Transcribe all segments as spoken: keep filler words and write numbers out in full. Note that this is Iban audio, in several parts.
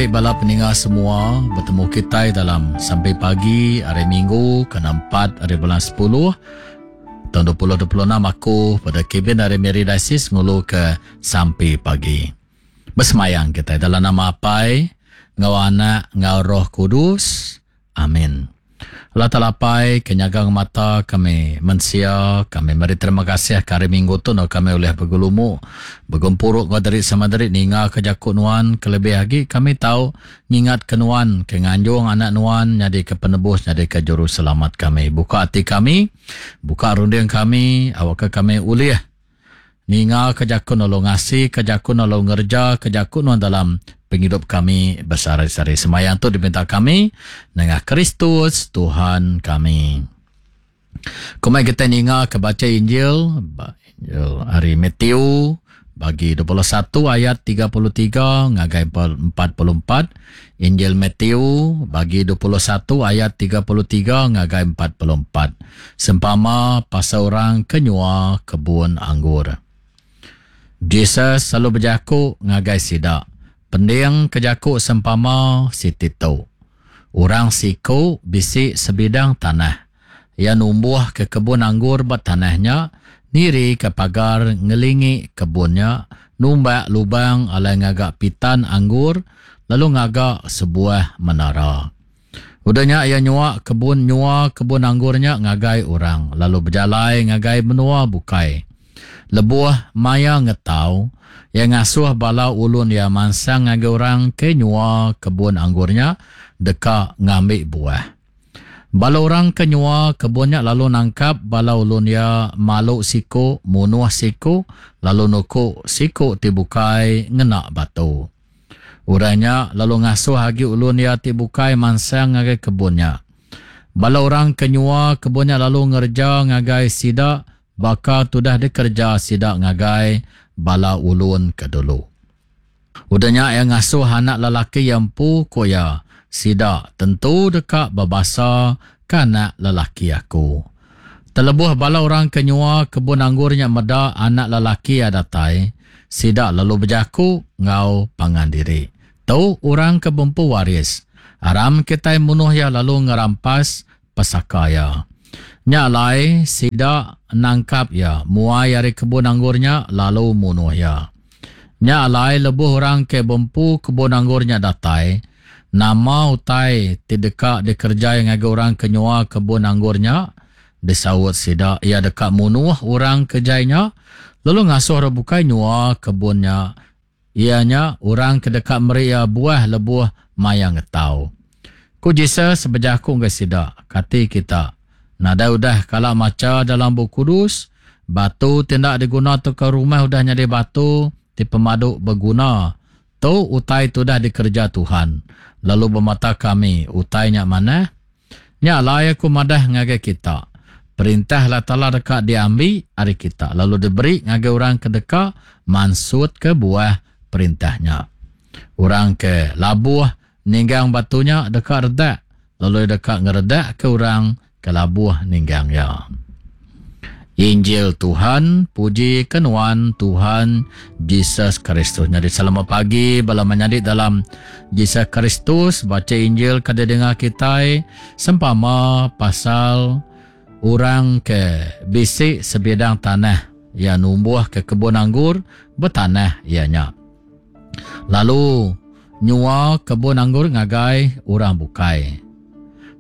pagi bala peninga semua, betemu kitai dalam sampai pagi hari Minggu ke empat hari bulan sepuluh tahun dua ribu dua puluh enam. Aku pada Kevin dari Miri Diocese ngulu ke sampai pagi. Bersemayang kita dalam nama Apai, ngau Anak, ngau Roh Kudus. Amin. Allah Taala Apai, kenyaga mata kami mensia, kami meri terima kasih ke hari Minggu tu no kami oleh bergelumu, bergempuruk ngau dari sama dari ninga ke jakut nuan, kelebih lagi kami tahu ngingat ke nuan, ke nganjung anak nuan nyadi ke penebus, nyadi ke juru selamat kami. Buka hati kami, buka runding kami, awak ke kami ulih ninga ke jakut lalu ngasi ke jakut lalu ngerja ke jakut nuan dalam penghidup kami besari-sari. Semayang tu diminta kami dengan Kristus Tuhan kami. Kumai kita ninga ke baca Injil, Injil hari Matthew bagi dua puluh satu ayat tiga puluh tiga ngagai empat puluh empat. Injil Matthew bagi dua puluh satu ayat tiga puluh tiga ngagai empat puluh empat. Sempama pasal orang kenyua kebun anggur. Jesus selalu berjaku ngagai sidak. Pending kejaku sempama siti tu. Orang siku bisi sebidang tanah. Ia numbuh ke kebun anggur ba tanahnya, niri ke pagar ngelingi kebunnya, numbak lubang alai ngagak pitan anggur, lalu ngagak sebuah menara. Udahnya ia nyua kebun nyua kebun anggurnya ngagai orang, lalu berjalai ngagai menua bukai. Lebuh maya ngetau, ia ngasuh bala ulun ia mansang ngagai orang ke nyua kebun anggurnya deka ngambil buah. Bala orang ke nyua kebunnya lalu nangkap bala ulun ia malu siku, munuh siku, lalu nuku siku ti bukai ngena batu. Orangnya lalu ngasuh agi ulun ia ti bukai mansang ngagai kebunnya. Bala orang ke nyua kebunnya lalu ngerja ngagai sida baka tudah dikerja sida ngagai bala ulun ke dulu. Udahnya ia ngasuh anak lelaki yang empu ko ia, sida tentu deka berbasa ke anak lelaki aku. Terlebuh bala orang ke nyua kebun anggurnya meda anak lelaki ia datai, sida lalu berjaku ngau pangan diri. Tu orang ke bempu waris, aram kita munuh ia lalu ngerampas pesaka ia. Nya alai sida nangkap ia, muai ari kebun anggurnya lalu munuh ia. Nya alai lebuh orang ke bempu kebun anggurnya datai, nama utai ti deka dikerjai ngagai orang ke nyua kebun anggurnya? Disaut sida, ia deka munuh orang ke jainya, lalu ngasuh orang bukai nyua kebunnya. Ia nya orang ke deka meri ia buah lebuh maya ngetau. Ku Jesus berjaku ngagai sida, kati kita nadai udah kala maca dalam buku kudus, batu tindak diguna tu ke rumah udah nyadi batu ti pemadu berguna. Tu utai tu dah dikerja Tuhan. Lalu bermata kami utainya mana? Nya alai aku madah ngagai kita. Perintah Allah Taala deka diambil ari kita lalu diberi ngagai orang ke deka mansut ke buah perintahnya. Orang ke labuh ninggang batunya deka redak, lalu deka ngeredak ke orang ke labuh ninggang ya. Injil Tuhan, puji ke nuan Tuhan Jesus Kristus. Jadi selamat pagi bala menyadi dalam Jesus Kristus. Baca Injil kada dengar kitai sempama pasal orang ke bisi sebidang tanah ia numbuh ke kebun anggur bertanah ianya. Lalu nyua kebun anggur ngagai orang bukai.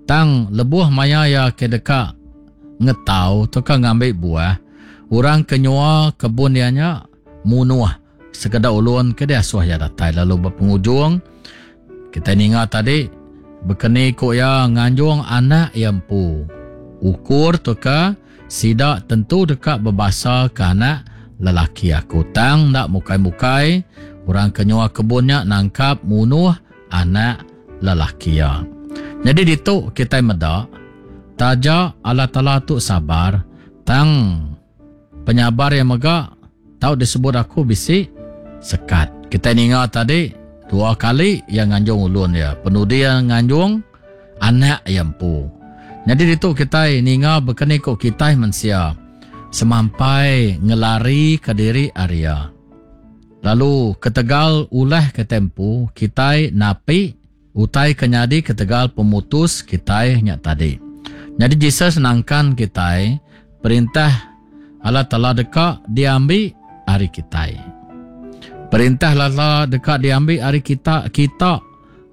Tang lebuh maya ia ke deka ngetau atau ngambil buah, orang ke nyua kebun dia nya munuh sekeda ulun ke dia asuh ia datai. Lalu berpengujung kita ninga tadi bekeni ko ia nganjung anak ia empu. Ukur tu ke sida tentu deka berbasa ke anak lelaki aku. Tang ndak mukai-mukai orang ke nyua kebunnya nangkap munuh anak lelaki ia. Jadi ditu kita meda taja Allah Taala tu sabar, tang penyabar yang mega tau disebut aku bisi sekat. Kita ninga tadi dua kali yang nganjung ulun dia, penudi yang nganjung anak yang empu. Jadi ditu kita ninga bekeni ko kita mensia semampai ngelari ke diri area. Lalu ketegal ulah ke tempo kitai napi utai ke nyadi ketegal pemutus kitai nya tadi. Jadi Jesus nangkan kitai perintah Allah Taala deka diambil hari kitai. Perintah Allah Taala deka diambil hari kita kita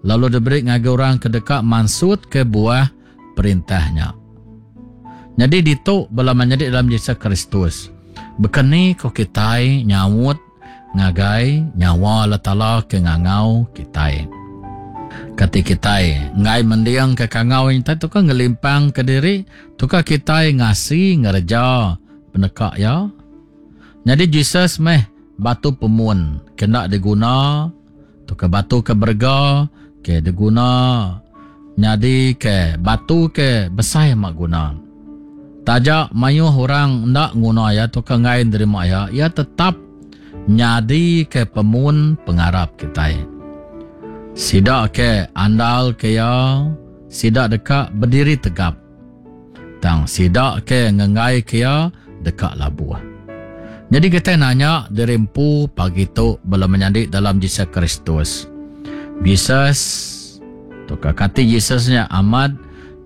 lalu diberi ngagai orang ke deka mansut ke buah perintahnya. Jadi ditu bala menyadi dalam Jesus Kristus. Bekeni ko kitai nyaut ngagai nyawa Allah Taala ke ngangau kitai. Kati kitai ngai mendiang ke kangau intai tu kan ngelimpang ke diri tu ka kitai ngasi ngereja peneka ya. Jadi Jesus meh batu pemun kena diguna tu ke batu ke berega ke diguna jadi ke batu ke besai mak guna. Taja mayuh orang ndak nguna ya tu ka ngai nerima ya, ia tetap nyadi ke pemun pengarap kitai. Sida ke andal ke ya, sida deka berdiri tegap. Tang sida ke ngengai ke ya deka labuh. Jadi kita nanya diri empu pagi tu bala menyadi dalam Jesus Kristus. Jesus tu ka kati Jesusnya amat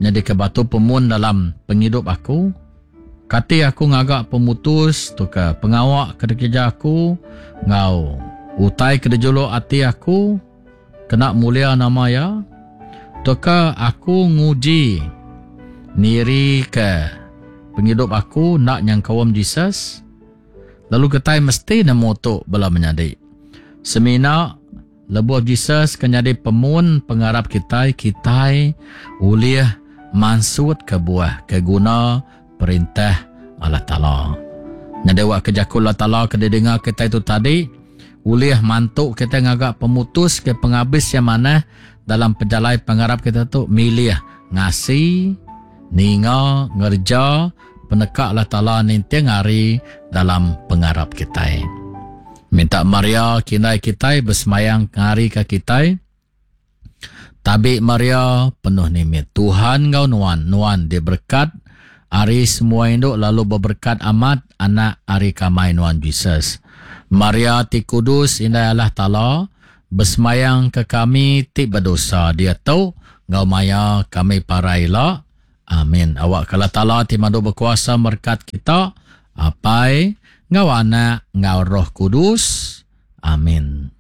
nyadi ke batu pemun dalam penghidup aku. Kati aku ngagak pemutus tu ke pengawak ke kerja aku ngau utai ke dijuluk ati aku kena mulia nama ya. Tu ke aku nguji niri ke penghidup aku nak nyangkawam Jesus. Lalu kitai mesti nemu tu bala menyadi. Semina lebuh Jesus ke nyadi pemun pengarap kitai, kitai ulih mansut ke buah ke guna perintah Allah Taala. Nyadi wak ke jaku Allah Taala ke didengar kitai tu tadi ulih mantu kita ngagak pemutus ke penghabis yang mana dalam pejalai pengarap kita tu milih ngasi ninga ngerja peneka Allah Taala ninting hari dalam pengarap kitai. Minta Maria kindai kitai bersemayang ngari ke kitai. Tabi Maria penuh nimit Tuhan ngau nuan, nuan diberkat ari semua induk lalu berberkat amat anak ari kamai nuan Jesus. Maria ti kudus indai Allah Taala bersemayang ke kami ti berdosa dia tu ngau maya kami paraila. Amin. Awak Allah Taala ti madu berkuasa berkat kita apai ngau anak ngau Roh Kudus. Amin.